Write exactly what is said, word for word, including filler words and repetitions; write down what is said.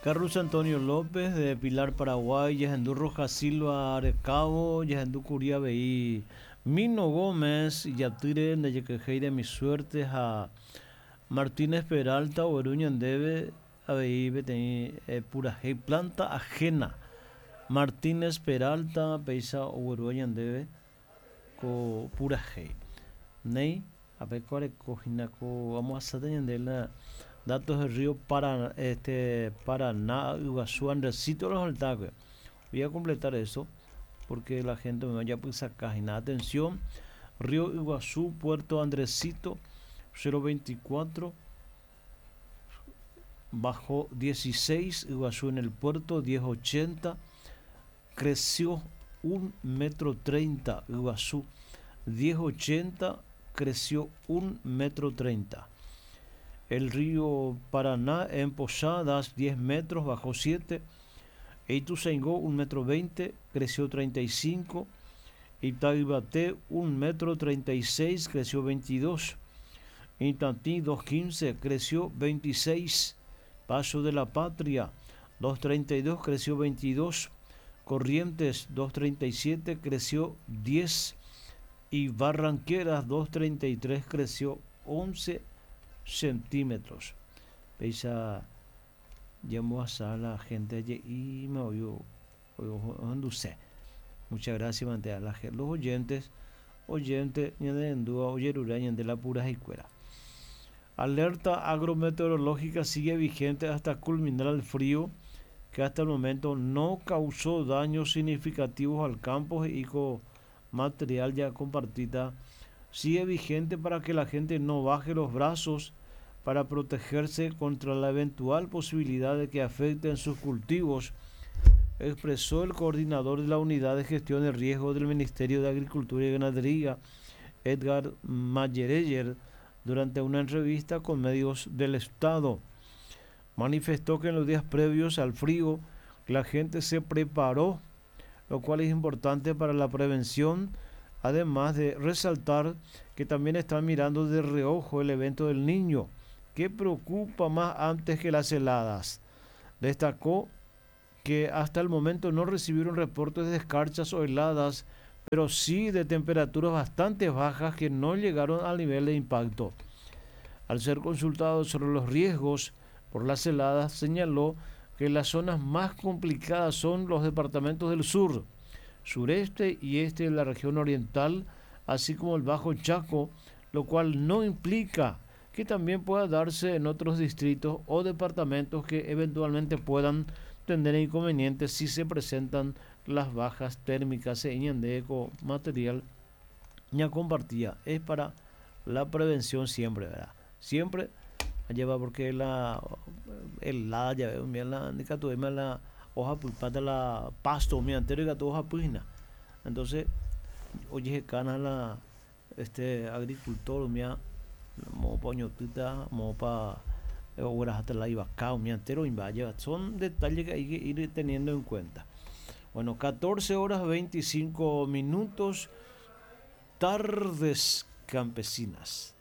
Carlos Antonio López de Pilar, Paraguay, Yehendú Rojas Silva Arecabo, Yehendú Curia Veí, Mino Gómez, Yatire, Neyequejei de mi suerte, ha Martínez Peralta, Oeruña Ndeve, avei peteĩ eh, purahéi planta ajena. Martínez Peralta, péicha oguerúva ñandéve ko purahéi. Néi, apeko areko hína ko amohasáta ñande la datos del río Paraná, este, Paraná, Iguazú, Andresito, los Altaque. Voy a completar eso porque la gente me vaya a sacar. Atención, río Iguazú, Puerto Andresito, cero veinticuatro, bajo dieciséis, Iguazú en el puerto, diez ochenta, creció un metro treinta, Iguazú, diez ochenta, creció un metro treinta. El río Paraná en Posadas, diez metros, bajó siete. Ituzaingó, un metro veinte, creció treinta y cinco. Itaibaté, un metro treinta y seis, creció veintidós. Itatí, dos quince, creció veintiséis. Paso de la Patria, dos treinta y dos, creció veintidós. Corrientes, dos treinta y siete, creció diez. Y Barranqueras, dos treinta y tres, creció once centímetros. Veis a llamó a la gente allí y me oyó, oyó, oyó, Muchas gracias, mantea la gente, los oyentes, oyentes, ñandendúa, oyerura, ñande la pura y cuera. Alerta agrometeorológica sigue vigente hasta culminar el frío que hasta el momento no causó daños significativos al campo y con material ya compartida. Sigue vigente para que la gente no baje los brazos para protegerse contra la eventual posibilidad de que afecten sus cultivos, expresó el coordinador de la Unidad de Gestión de Riesgo del Ministerio de Agricultura y Ganadería, Edgar Mayereyer, durante una entrevista con medios del Estado. Manifestó que en los días previos al frío la gente se preparó, lo cual es importante para la prevención, además de resaltar que también están mirando de reojo el evento del Niño, que preocupa más antes que las heladas. Destacó que hasta el momento no recibieron reportes de escarchas o heladas, pero sí de temperaturas bastante bajas que no llegaron al nivel de impacto. Al ser consultado sobre los riesgos por las heladas, señaló que las zonas más complicadas son los departamentos del sur, sureste y este de la región oriental, así como el Bajo Chaco, lo cual no implica que también pueda darse en otros distritos o departamentos que eventualmente puedan tener inconvenientes si se presentan las bajas térmicas en Ñandeco, material ya compartía. Es para la prevención siempre, ¿verdad? Siempre lleva porque la el la ya veo mira la indica tu la hoja pulpata la pasto mi anterior que hoja pugna. Entonces, oye, cana la este agricultor mía mo poñotita mo pa obras hasta la iba mi entero invaya. Son detalles que hay que ir teniendo en cuenta. Bueno, catorce horas veinticinco minutos, tardes campesinas.